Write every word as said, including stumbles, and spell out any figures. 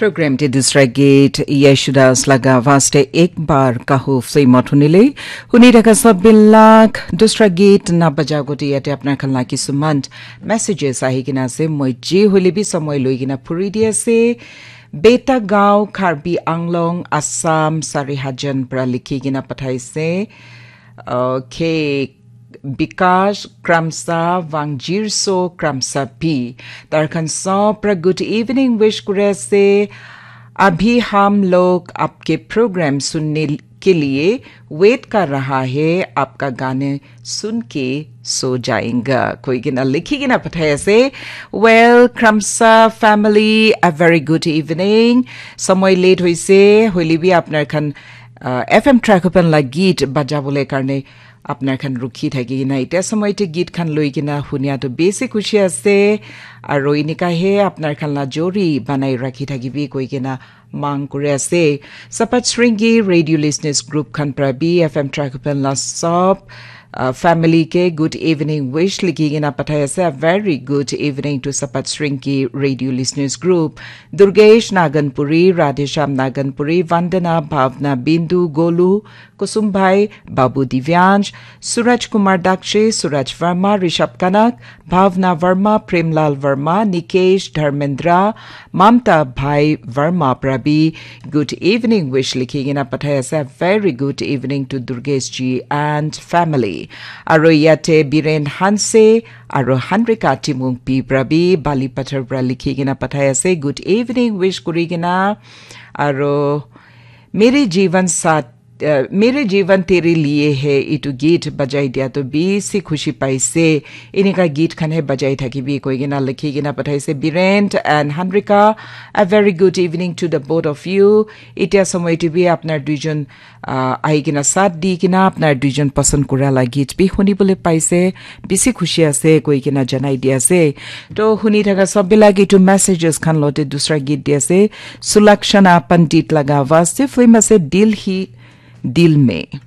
Program te dusra git Yeshudas laga vaste ek bar kahu film thunile. Huni thaka sabilak dusra git na baja goti yate apnar khan la kisuman messages ahi kina ase. Moi ji hoile bi samoi loi kina phuri di ase. Beta Gao, Karbi Anglong, Assam, Sarihajan pra likhi kina pathaise. Okay, Bikash Kramsa, Wangjirso Kramsa P. Tarkhan sob pra good evening wish kuri ase. अभी हम लोग आपके प्रोग्राम सुनने के लिए वेट कर रहा है, आपका गाने सुन के सो जाएंगा koi kena likhi kena pathai ase. Well, Kramsa family, a very good evening. Samoi late hoise, hoile bi apnar khan uh, F M track open la git baja bole karne apnar khan rukhi thaki kena ite samoi te git khan loi kena hunia to besi khushi ase. Aro inika he apnar khan la jori banai rakhi thaki bi koi kena mang kuri ase. Sapat Sringi Radio Listeners Group khan pra bi F M track open la sob uh, family ke good evening wish likhi kena pathai ase. A very good evening to Sapat Sringi Radio Listeners Group. Durgesh Naganpuri, Radhesham Naganpuri, Vandana, Bhavna, Bindu, Golu, Kusum Bhai, Babu Divyansh, Suraj Kumar Dakshe, Suraj Verma, Rishabh Kanak, Bhavna Verma, Premlal Verma, Nikesh, Dharmendra, Mamta Bhai Verma pra bi good evening wish likhi kena pathai ase. A very good evening to Durgesh ji and family. Aro yate Biren Hanse, aro Hanrika Timung P pra bi Bali Pathar pra likhi kena pathai ase. Good evening wish kuri kena. Aro Mere Jeevan Saath, uh, Mere Jeevan Tere Liye Hai itu git bajai dia to bisi khushi paise. Inika git khan he bajai thakibi koi kena likhi kena pathaise. Birent and Hanrika, a very good evening to the both of you. Itia samoi te bi apnar duijon uh, ahi kena saath di kena apnar duijon pasand kura la git bi huni bole paise. Bisi khushi ase koi kena janai di ase. To huni thaka sob bilak itu messages khan lote dusra git di ase. Sulakshana Pandit laga vaste film ase Dil Hi Dil Mein.